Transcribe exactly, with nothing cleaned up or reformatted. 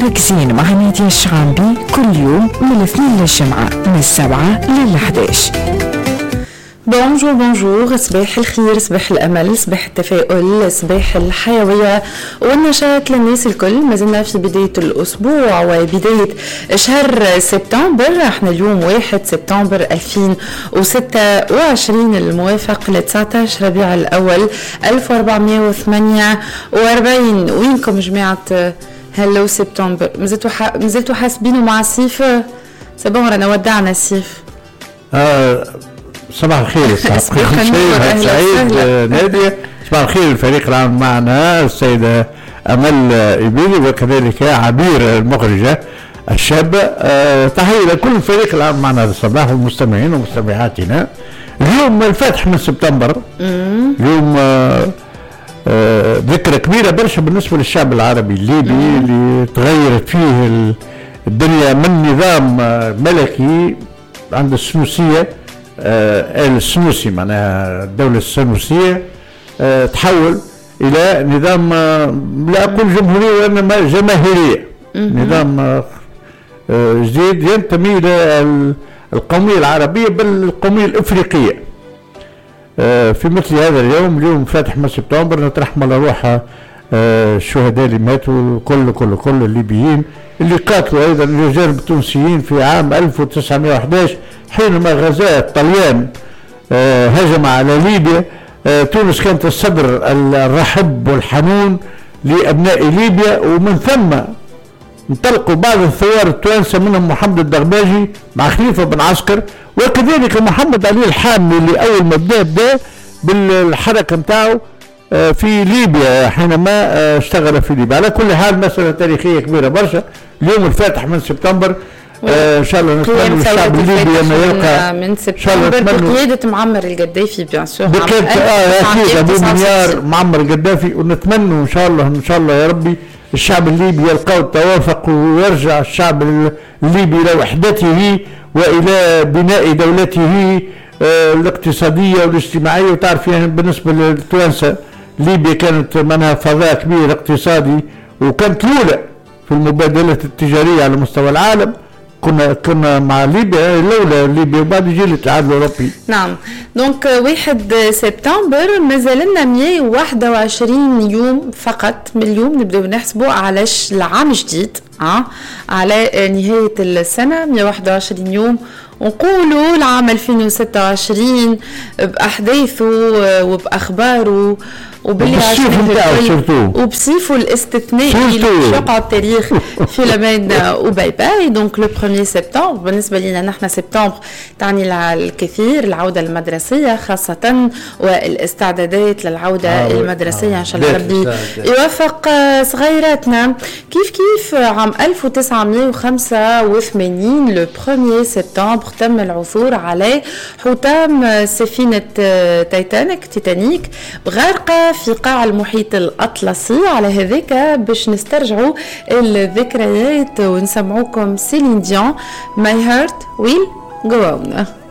نهارك زين مع نادية الشعامبي كل يوم من الاثنين للجمعة من السبعة للحداش. bonjour bonjour، صباح الخير، صباح الامل، صباح التفاؤل، صباح الحيوية والنشاط للناس الكل. ما زلنا في بداية الاسبوع وبداية شهر سبتمبر. احنا اليوم واحد سبتمبر ألفين وستة وعشرين الموافق ل تسعة عشر ربيع الاول ألف وأربعمية وثمانية وأربعين. وينكم جماعة hello سبتمبر؟ مازلتوا مازلتوا حاسبينه مع الصيف؟ c'est bon، رانا ودعنا الصيف. آه، صباح الخير، صباح الخير سعيد نادية، صباح الخير الفريق العام معنا السيدة أمل إبيلي وكذلك عبير المخرجة الشابة. أه تحية لكل الفريق العام معنا هذا الصباح والمستمعين ومستمعاتنا. اليوم الفاتح من سبتمبر، اليوم آه آه ذكرى كبيرة برشا بالنسبة للشعب العربي الليبي اللي تغيرت فيه الدنيا من نظام ملكي عند السنوسية، آه آل السنوسي، معناها الدولة السنوسية، آه تحول إلى نظام آه لا أقول جمهورية وإنما جماهيرية، نظام آه جديد ينتمي إلى القومية العربية بل القومية الإفريقية. آه في مثل هذا اليوم، اليوم فاتح من سبتمبر، نترحم على روح آه الشهداء اللي ماتوا، كل كل كل الليبيين اللي قاتلوا ايضا الجانب التونسيين في عام ألف وتسعمية وحداش حينما غزا الطليان، آه هجم على ليبيا. آه تونس كانت الصدر الرحب والحنون لابناء ليبيا، ومن ثم انطلقوا بعض الثوار التوانسه، منهم محمد الدغباجي مع خليفة بن عسكر وكذلك محمد علي الحامي اللي اول ما بدا بدا بالحركة نتاعو آه، في ليبيا حينما آه، اشتغل في ليبيا. على كل حال مسألة تاريخية كبيرة برشا اليوم الفاتح من سبتمبر. آه ان شاء الله نتمنى للشعب الليبي انه يلقى من سبتمبر بقيادة معمر القذافي bien sûr. بقيادة اه اكيد ابو منيار معمر القذافي. ونتمنى ان شاء الله، ان شاء الله يا ربي، الشعب الليبي يلقى التوافق ويرجع الشعب الليبي الى وحدته والى بناء دولته آه، الاقتصادية والاجتماعيه. وتعرف يعني بالنسبة للتوانسه ليبيا كانت منها فضاء كبير اقتصادي وكانت الاولى في المبادلات التجارية على مستوى العالم. كنا كنا مع ليبيا الاولى، ليبيا وبعد يجي الاتحاد الاوروبي. نعم، donc واحد سبتمبر مازال لنا مية وواحد وعشرين يوم فقط من اليوم نبداو نحسبوا على العام الجديد أه؟ على نهاية السنة مية وواحد وعشرين يوم ونقولوا العام ألفين وستة وعشرين بأحداثه وبأخباره وباللي وبالصيف وبصيفه الاستثنائي اللي باش يقعد تاريخ في لمان و bye bye. donc le premier septembre بالنسبة لنا نحن سبتمبر تعني الكثير، العودة المدرسية خاصة والاستعدادات للعودة آه المدرسيه. آه ان شاء الله ربي يوفق صغيراتنا. كيف كيف عام ألف وتسعمية وخمسة وثمانين le premier septembre تم العثور على حطام سفينة تايتانيك، تيتانيك، غارقة في قاع المحيط الأطلسي. على هذاك باش نسترجعوا الذكريات ونسمعوكم Céline Dion، My Heart Will Go On.